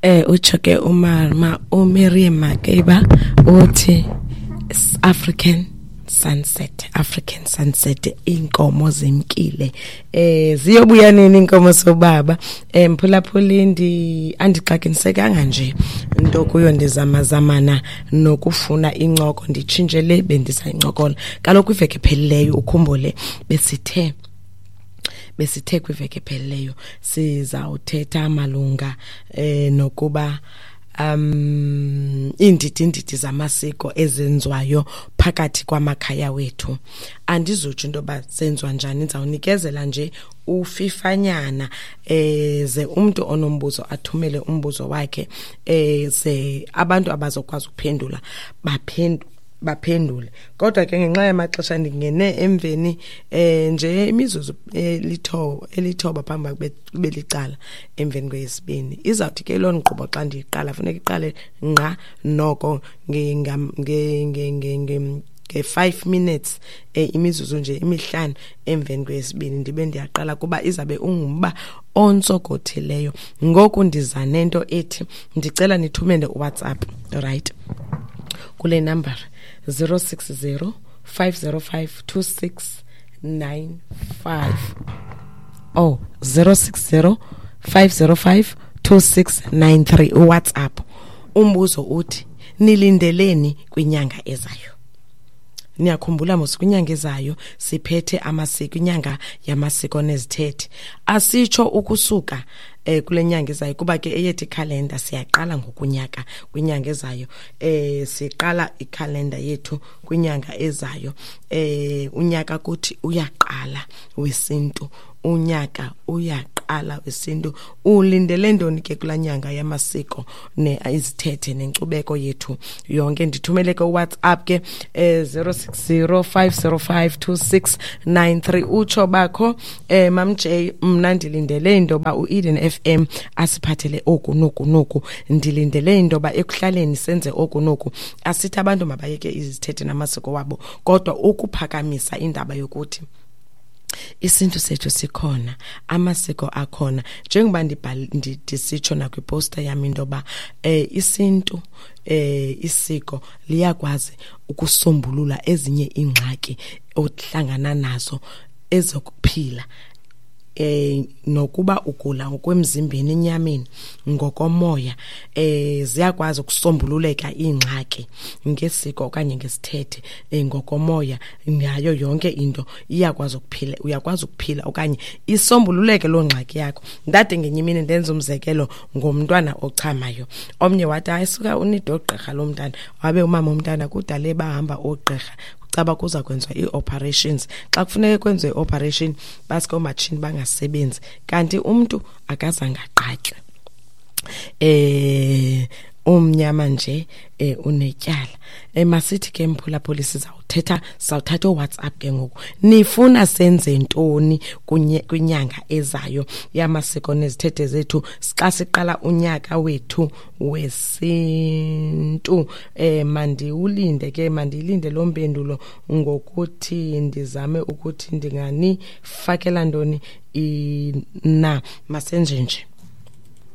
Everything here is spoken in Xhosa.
Utsho ke umama uMiriam Makeba uthi African Sunset, African Sunset, inkomo zimkile. Ziyobuya nini inkomo sobaba? Mphulaphuli, ndi andixakinisekanga nje into kuyo, ndizamazamana nokufuna incoko, nditshintshe le bendisayincokola. Kaloku iveki ephelileyo, ukhumbule, besithe kwiveki ephelileyo sizawuthetha malunga nokuba iindidi indidi zamasiko ezenziwayo phakathi kwamakhaya wethu. Andizutsho into yoba zenziwa njani, ndizawunikezela nje ufifanyana, ze umntu onombuzo athumele umbuzo wakhe, ze abantu abazokwazi ukuphendula baphendule. Kodwa ke ngenxa yamaxesha ndingene emveni nje imizuzu elithoba phambi belicala emveni kweyesibini. Izawuthi ke loo nkqubo xa ndiyiqala funeka iqale ngqa noko nge-5 minutes, imizuzu nje 5 emveni kweyesibini ndibe ndiyaqala, kuba izabe ungumba ontsokothileyo. Ngoku ndiza nento ethi ndicela nithumele uWhatsApp, right, kule number 060 505 2695. Oh, 060 505 2693, uWhatsApp. Umbuzo uthi nilindeleni kwinyanga ezayo? Niyakhumbula mos kwinyanga ezayo siphethe amasiko, inyanga yamasiko nezithethe. Asitsho ukusuka kule nyanga ezayo, kuba ke eyethu ikhalenda siyaqala ngokunyaka kwinyanga ezayo. Siqala ikhalenda yethu kwinyanga ezayo. Unyaka kuthi uyaqala wesintu, unyaka uyaqala wesintu. Ulindele ntoni ke kulaa nyanga yamasiko ne izithethe nenkcubeko yethu yonke? Ndithumele ke uWhatsApp ke 060 505 2693. Utsho bakho, Mam J, mna ndilindele into yoba uEden FM asiphathele oku noku noku, ndilindele into yoba ekuhlaleni senze oku noku. Asithi abantu mabayeke izithethe namasiko wabo, kodwa ukuphakamisa indaba yokuthi isintu sethu sikhona, amasiko akhona. Njengoba ndisitsho nakwiposta yam into yoba isintu, isiko liyakwazi ukusombulula ezinye iingxaki ohlangana nazo ezokuphila, nokuba ugula ngokwemzimbeni, enyameni, ngokomoya, ziyakwazi ukusombululeka iingxaki ngesiko okanye ngesithethe, ngokomoya, ngayo yonke into iyakwazi ukuphila, uyakwazi ukuphila okanye isombululeke loo ngxaki yakho. Ndade ngenye imini ndenza umzekelo ngomntwana ochamayo. Omnye wathi hayi suka unide oogqirha lo mntana, wabe umama umntana kudala bahamba oogqirha, caba kuza kwenziwa ii-operations. Xa kufuneka kwenziwe i-operation baske oomatshini bangasebenzi, kanti umntu akazange aqatywe. Umnyama nje unetyala. Masithi ke mphulaphuli, sizawuthatha uWhatsApp ke ngoku. Nifuna senze ntoni kwinyanga ezayo yamasiko nezithethe zethu xa siqala unyaka wethu wesintu? Mandiwulinde ke, mandiyilinde loo mpendulo ngokuthi ndizame ukuthi ndinganifakela ntoni na. Masenje nje.